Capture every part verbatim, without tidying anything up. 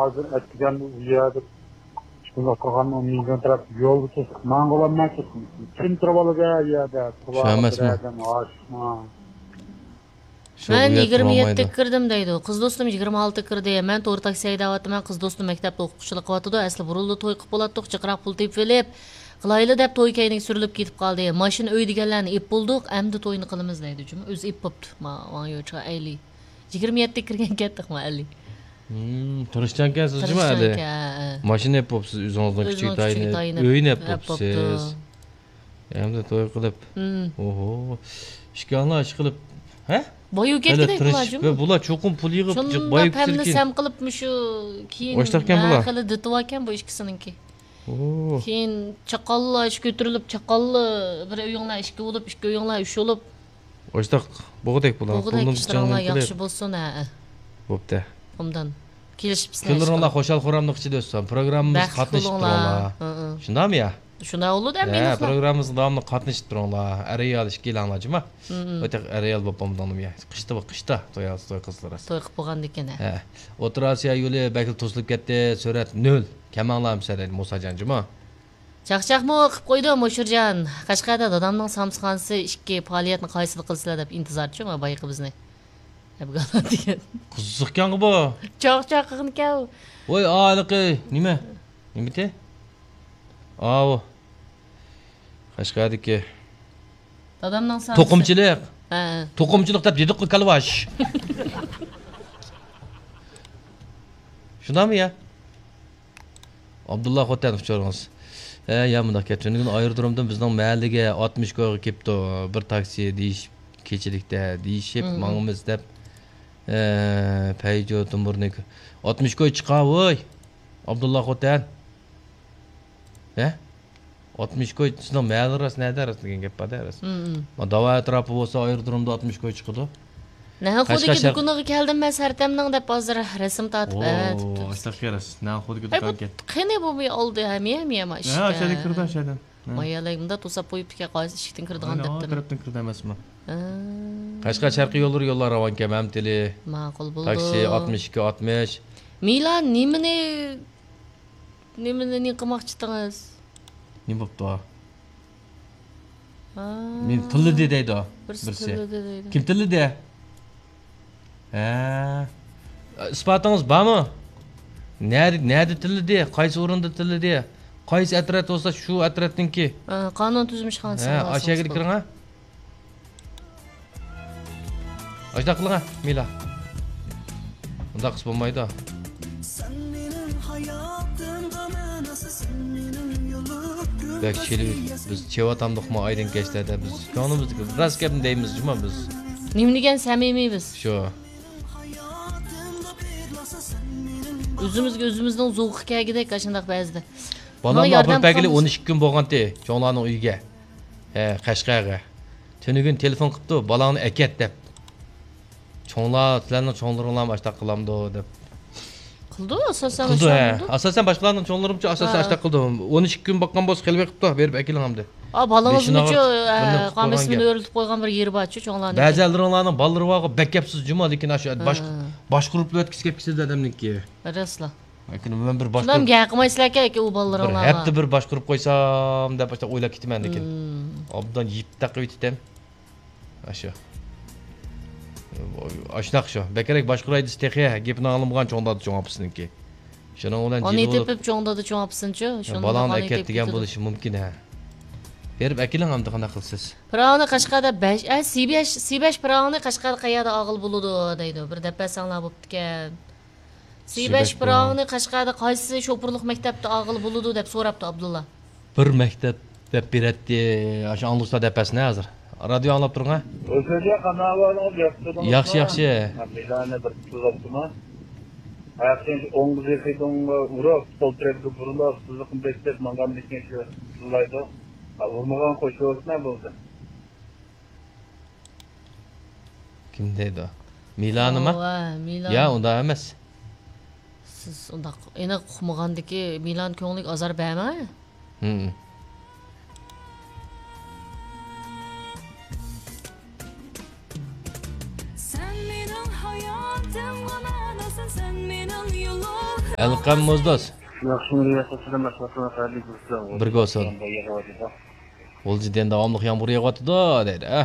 ھازىر ئەتىگەن ئۇ يەردە شۇنداق قىلغان، ئۇ مىڭ تەرەپ يولدا توسۇپ ماڭغۇلاممەن. كىم تۇرۇپ ئالىدۇ ئۇ يەردە؟ شۇ ئەمەسمۇ؟ بىر ئادەم ئاشىقما؟ شۇ مەن ئۇ يەردە يىگىرمە يەتتە تۇرالمايدۇ. كىردىم دەيدۇ. قىز دوستۇم يىگىرمە ئالتە كىردى. مەن تور تاكسى ھەيدەۋاتىمەن. قىز دوستۇم مەكتەپتە ئوقۇتقۇچىلىق قىلىۋاتىدۇ. ئەسلى بۇرۇنلا توي قىلىپ بولاتتۇق. جىقراق پۇل تېپىۋېلىپ قىلايلى دەپ توي كەينىگە سۈرۈلۈپ كېتىپ قالدى. ماشىنا، ئۆي دېگەنلەرنى ئېلىپ بولدۇق. ئەمدى توينى قىلىمىز دەيدۇ. جۇمۇ ئۆزى ئېلىپ بوپتۇ. ما، ۋاڭ يوچۇغا ئەيلى. يىگىرمە يەتتە كىرگەن كەتتۇق ما ئەللى. ھىم، تىرىشچانكەنسىز جۇمۇ ئەلى. تىرىشچانكەن، ھە، ھە. ماشىنا ئېلىپ بوپسىز، ئۆزىڭىزنىڭ ئۆزىنىڭ كىچىك كىچىك تايىنى، تايىنى ئۆينى ئېلىپ ئېلىپ بوپسىز. بوپتۇ. ئەمدى توي قىلىپ. ھىم. ئوھو. ئىككىڭلار ئىش قىلىپ. ھە؟ بايىۋ كەتكۈدەك بۇلار جۇمۇ. بۇلار چوقۇم پۇل يىغىپ، شۇنداق بايىۋ پەمنى كېتىدىكەن. سەم قىلىپ مۇشۇ كېيىن ئاشتاقكەن بۇلار. خېلى دىتىۋالكەن بۇ ئىككىسىنىڭكى. ئوھو. كېيىن چاقاللا ئىش كۆتۈرۈلۈپ، چاقاللا بىر ئۆيۈڭلار ئىككى بولۇپ، ئىككى ئۆيۈڭلار ئۈچ بولۇپ. ئاشتاق بوغۇدەك بۇلار. بوغۇدەك، پۇلنىڭ ئىشلىرىڭلار ياخشى بولسۇن، ھە. بوپتە. ئوبدان. كېلىشىپسىلەر. كۈنلىرىڭلار خۇشال-خۇراملىق ئىچىدە ئۆتسۇن. پروگراممىمىزغا قاتنىشىپ تۇرۇڭلار. ھە، ھە. شۇنداقمۇ يا؟ شۇنداق بولىدۇ، ھە، مېنىڭ پروگراممىمىزغا داۋاملىق قاتنىشىپ تۇرۇڭلار. ئەر-ئايال ئىككىيلەنلا جۇمۇ. ھە، ھە. ئۆتەك ئەر-ئايال بولۇپ بولمىدىڭلىمۇ يا؟ قىشتا بۇ، قىشتا توي، توي قىلسىلىرى. توي قىلىپ بولغاندىكىن، ھە. ھە. ئوتتۇرا ئاسىيا يولى بەكلا توسۇلۇپ كەتتى. سۈرئەت نۆل. كەمەڭلار ئەمسە دەيدۇ موساجان جۇمۇ. چاقچاقمۇ قىپ قويدۇ مۇشۇرجان. قەشقەردە دادامنىڭ سامسىخانىسى ئىككى، پائالىيەتنى قايسىدا قىلىسىلەر دەپ ئىنتىزارچۇ، ما بايىقى بىزنى. دەپ قالغان دېگەن. قىزىقكەنغۇ بۇ. چاقچاق قىلغىنىكەن ئۇ. ۋاي، ئا، ھېلىقى نېمە؟ نېمىتى؟ ئاۋۇ. قەشقەردىكى. دادامنىڭ سامسىخانىسى. توقۇمىچىلىق. ھە، ھە. توقۇمىچىلىق دەپ دېدۇققۇ، كالۋاش. شۇنداقمۇ يا؟ ئابدۇللا خوتەن ئۇچۇرىڭىز. ھە، يا مۇنداق گەپ. تۈنۈگۈن ئايرودرومدىن بىزنىڭ مەھەللىگە ئاتمىش كويغا كېپتۇ. بىر تاكسى دېيىش، كېچىلىكتە دېيىشىپ ماڭىمىز دەپ. ھە، پەيجو تۇمبۇرنى. ئاتمىش كوي چىقا، ۋوي. ئابدۇللا خوتەن. ھە؟ ئاتمىش كوي سىزنىڭ مەھەللە راست، نەدە راست دېگەن گەپ بار-دە، راست. ما داۋا ئەتراپى بولسا، ئايرودرومدا ئاتمىش كوي چىقىدۇ. نەنخۇدىكى دۇكىنىغا كەلدىم مەن سەرتەمنىڭ دەپ ھازىر رەسىم تارتىپ ئەۋەتىپتۇ. ئاشتاق كەرەس. نەنخۇدىكى دۇكان ئىكەن. قېنى بۇ بىر ئالدى ھەمىيە، ھەمىيە ما ئىشتە. ھە، ئاشەدە كىردى، ئاشەدە. مايالەي مۇندا توساپ قويۇپتىكەن، قايسى ئىشىكتىن كىردىغان دەپتىمەن. تەرەپتىن كىردى ئەمەسمۇ؟ قەشقەر شەرقىي يوللىرى يوللار راۋانكەن، مەمتىلى. ماقۇل بولدى. تاكسى ئاتمىش ئىككى ئاتمىش. مىلان نېمىنى نېمىنى، نېمە قىلماقچىدىڭىز؟ نېمە بوپتۇ؟ ھا. مېنى تىللىدى دەيدۇ بىرسى. بىرسى تىللىدى دەيدۇ. كىم تىللىدى؟ ھە. ئىسپاتىڭىز بارمۇ؟ نەدە، نەدە تىللىدى؟ قايسى ئورۇندا تىللىدى؟ قايسى ئەترەت بولسا شۇ ئەترەتنىڭكى. ھا، قانۇن تۈزۈم ئىشخانىسى. ھە، ئاشۇ يەرگە كىرىڭ ھە. ئاشۇنداق قىلىڭ ھە، مىلا. ئۇنداق قىلسا بولمايدۇ. بەك چېلىۋېتىپ، بىز چېۋاتامدۇقمۇ ئايدىڭ كەچلەردە؟ بىز كۆڭلىمىزدىكى راست گەپنى دەيمىز جۇما بىز. نېمە دېگەن سەمىمىي بىز. شۇ. ئۆزىمىزگە ئۆزىمىزنىڭ زوقى كەلگۈدەك ئاشۇنداق بەزىدە. بالامنى ئاپىرىپ بەرگىلى ئون ئىككى كۈن بولغانتى، چوڭلارنىڭ ئۆيىگە. ھە، قەشقەرگە. تۈنۈگۈن تېلېفون قىپتۇ، بالاڭنى ئەكەت دەپ. چوڭلار، سىلەرنىڭ چوڭلىرىڭلارمۇ ئاشتاق قىلامدۇ دەپ. قىلىدۇ، ئاساسەن قىلىدۇ، ھە. ئاساسەن باشقىلارنىڭ چوڭلىرىمچۇ ئاساسەن ھە. ئاشتاق قىلىدۇ. ئون ئىككى كۈن باققان بولسا خېلى بېقىپتۇ، بېرىپ ئەكېلىڭ ئەمدى. ئا، بالىڭىزمۇچۇ، بېشىنى ئاغرىتىپ، ھە، بىرنى قىلىپ قامىسىمنى قويغان گەپ. ئۆرۈلتۈپ قويغان بىر يېرى بارچۇ، چوڭلارنىڭ. بەزى ئەللىرىڭلارنىڭ بالىلىرى بارغۇ، بەك گەپسىز جۇما، لېكىن ئاشۇ ھە. باشقۇرۇپ ئۆتكۈسى كەپ كېتىدۇ ئادەمنىڭكى. راستلا. لېكىن مەن بىر باشقۇرۇپ، شۇنداق گەپ قىلمايسىلەركەن ئۇ بالىلىرىڭلارغا. بىر ھەپتە بىر باشقۇرۇپ قويسام دەپ باشلاپ ئويلاپ كېتىمەن لېكىن. مم. ئوبدان يىپ تاقىۋېتىتتىم. ئاشۇ. ئاشۇنداق شۇ. بەكرەك باشقۇراي دېسە تېخى گېپىنى ئاڭلىمىغان چوڭ دادا چوڭ ئاپىسىنىڭكى. شۇنىڭ بىلەن ئانى جىلى بولۇپ تېپىپ چوڭ دادا چوڭ ئاپىسىنچۇ؟ شۇنىڭ بالاڭنى ئانى ئەكەت تېپىپ دېگەن كېتىدۇ. بولۇشى مۇمكىن ھە. بېرىپ ئەكېلىڭ ئەمدى قانداق قىلىسىز؟ پىراۋنى قەشقەردە بەش، ئە، سى بەش، سى بەش پىراۋنى قەشقەردە قەيەردە ئالغىلى بولىدۇ دەيدۇ. بىر دەپ بەرسەڭلار بوپتىكەن. سى بەش پىراۋنى قەشقەردە قايسى شوپۇرلۇق مەكتەپتە ئالغىلى بولىدۇ دەپ سوراپتۇ ئابدۇللا. بىر مەكتەپ دەپ بېرەتتى، ئاشۇ ئاڭلىسا دەپ بەرسىنە ھازىر. رادىيو ئاڭلاپ تۇرۇڭ ھە. ئۆزىگە قانداق ئەھۋالىڭىز، ياخشى تۇردىڭىزمۇ؟ ياخشى، ياخشى. مىلانى بىر تۇتۇۋاپتىما؟ ھەقىقەتەن ئوڭغا زېخىدىڭغا ئۇرۇپ، سول تەرەپكە بۇرۇلۇپ، سىزىقنى بېسىپ ماڭغاندىن كېيىن شۇ تىللايدۇ. ھا، ئۇرمىغان قوشۇۋەتسىنە بولدى. كىم دەيدۇ؟ مىلانىما؟ ھەۋا، مىلان. يا، ئۇنداق ئەمەس. سىز ئۇنداق ئېنىق ئۇقمىغاندىكى مىلان كۆڭلىگە ئازار بەرمەڭ. ھىم. سەن مېنىڭ ھاياتىمغا مەناسەن، سەن مېنىڭ يولۇم. ئەلقەم موزدوز. ياخشىمۇ، رىياسەت، سالامەتلىك، ساغلىق، بىرگە بولسۇن. يېغىۋاتىدۇ. غۇلجىدىن داۋاملىق يامغۇر يېغىۋاتىدۇ، دەيدۇ، ھە.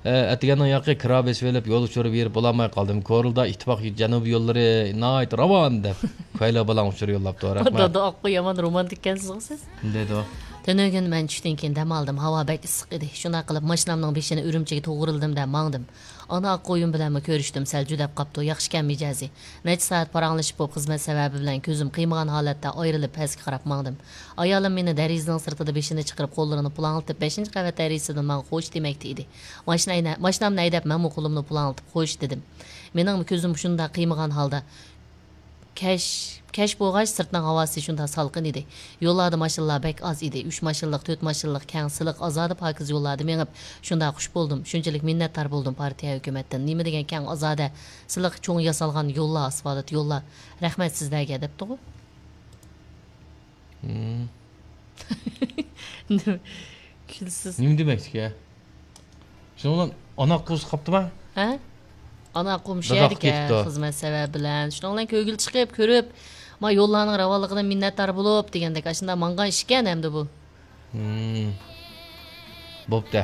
ئە، ئەتىگەننىڭ ياقى كىرا بېسىۋېلىپ، يول ئۇچۇرى بېرىپ بولالماي قالدىم. كورلىدا ئىتتىپاق جەنۇبىي يوللىرى ناھايىتى راۋان دەپ، كويلا بالاڭ ئۇچۇرى يوللاپتۇ. رەھمەت. دادا ئاققۇ يامان رومانتىككەنسىزغۇ سىز. دەيدۇ. تۈنۈگۈن مەن چۈشتىن كېيىن دەم ئالدىم. ھاۋا بەك ئىسسىق ئىدى. شۇنداق قىلىپ، ماشىنامنىڭ بېشىنى ئۈرۈمچىگە توغرىلىدىم-دە، ماڭدىم. ئانا ئاققۇيۇم بىلەنمۇ كۆرۈشتۈم، سەل جۈدەپ قاپتۇ. ياخشىكەن مىجەزى. نەچچە سائەت پاراڭلىشىپ بولۇپ، خىزمەت سەۋەبى بىلەن كۆزۈم قىيمىغان ھالەتتە ئايرىلىپ، پەسكە قاراپ ماڭدىم. ئايالىم مېنى دېرىزىنىڭ سىرتىدا بېشىنى چىقىرىپ، قوللىرىنى پۇلاڭلىتىپ، بەشىنچى قەۋەت دېرىزىدىن ماڭا خوش دېمەكتە ئىدى. ماشىنا ھەيدە-، ماشىنامنى ھەيدەپ، مەنمۇ قولۇمنى پۇلاڭلىتىپ، خوش دېدىم. مېنىڭمۇ كۆزۈم شۇنداق قىيمىغان ھالدا. كەچ، كەچ بولغاچ، سىرتنىڭ ھاۋاسى شۇنداق سالقىن ئىدى. يوللاردا ماشىنىلار بەك ئاز ئىدى. ئۈچ ماشىنىلىق، تۆت ماشىنىلىق كەڭ، سىلىق، ئازادە، پاكىز يوللاردا مېڭىپ، شۇنداق خۇش بولدۇم. شۇنچىلىك مىننەتدار بولدۇم پارتىيە، ھۆكۈمەتتىن. نېمە دېگەن كەڭ، ئازادە، سىلىق، چوڭ ياسالغان يوللار، ئاسفالت يوللار. رەھمەت سىزلەرگە، دەپتىغۇ. ھىم. نېمە كۈلىسىز؟ نېمە دېمەكچىكەن؟ شۇنىڭ بىلەن ئانا قۇزى قاپتىما؟ ھە؟ ئانا قۇم شۇ داداق يەردىكەن، كېتىپتۇ. خىزمەت سەۋەبى بىلەن. شۇنىڭ بىلەن كۆيگۈلى چىقىپ، كۆرۈپ، ما يوللارنىڭ راۋانلىقىدىن مىننەتدار بولۇپ دېگەندەك، ئاشۇنداق ماڭغان ئىشكەن ئەمدى بۇ. ھىم. بوپتە.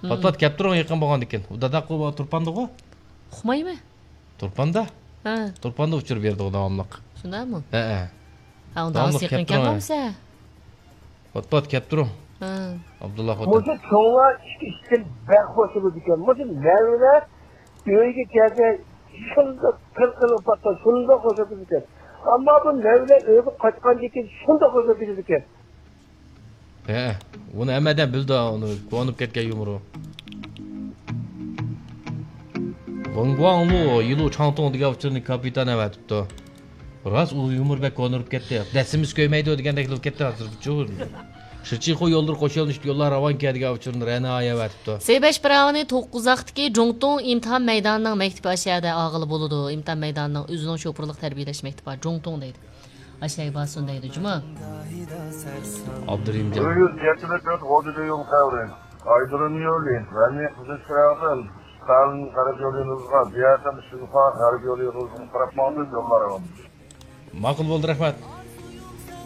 ھىم. پات-پات كەپ تۇرۇڭ، يېقىن بولغاندىكىن. ئۇ داداق قۇ تۇرپاندىغۇ؟ ئۇقمايمەن. تۇرپاندا؟ ھە. تۇرپاندا ئۇچۇر بېرىدىغۇ داۋاملىق. شۇنداقمۇ؟ ھەئە. ھە، ئۇنداق داۋاملىق يېقىن كەپ تۇرۇڭ، كەلمەمسە؟ پات-پات كەپ تۇرۇڭ. ھە. ئابدۇللا خوتۇن. مۇشۇ چوڭلار ئىككى ئىشتىن بەك خوش بولىدىكەن. مۇشۇ نەۋرىلەر ئۆيگە كەلسە شۇنداق قىلقىلىپ باققان، شۇنداق خوش بولىدىكەن. ئەمما بۇ نەۋرىلەر ئۆيگە قايتقاندىن كېيىن شۇنداق خوش بولىدىكەن. ھە، ئۇنى ھەممە ئادەم بىلىدۇ، ئۇنى كونۇپ كەتكەن يۇمۇرى. ۋېڭ گۇاڭلۇ يىلۇ چاڭتۇڭ دېگەن ئۇچۇرنى كاپىتان ئەۋەتىپتۇ. راست، ئۇ يۇمۇر بەك كونۇپ كەتتى. دەسسىمىز كۆيمەيدۇ دېگەندەك بولۇپ كەتتى ھازىر. شىچىخۇ يوللىرى قوشۇلۇشتى، يوللار راۋانكەن دېگەن ئۇچۇرنى رەنا ئەۋەتىپتۇ. سەي بەش پىراۋىنى توققۇزاقتىكى جۇڭتۇڭ ئىمتىھان مەيدانىنىڭ مەكتىپى ئاشۇ يەردە ئالغىلى بولىدۇ. ئىمتىھان مەيدانىنىڭ ئۆزىنىڭ شوپۇرلۇق تەربىيەلەش مەكتىپى بار، جۇڭتۇڭ دەيدۇ. ئاشەي بارسۇن دەيدۇ جۇمۇ. ئابدۇرېھىم جان. ئۆيۈز يەتتە مەتر غوجىدا يول قەۋرى. ئايدۇرۇن يولى، ۋەنى قىزىل چىراغدىن، ستالىن غەرب يولى يولىغا، بىياتەم شىنخۇا غەرب يولى يولىغا قاراپ ماڭدى، يوللار ئاۋام. ماقۇل بولدى، رەھمەت.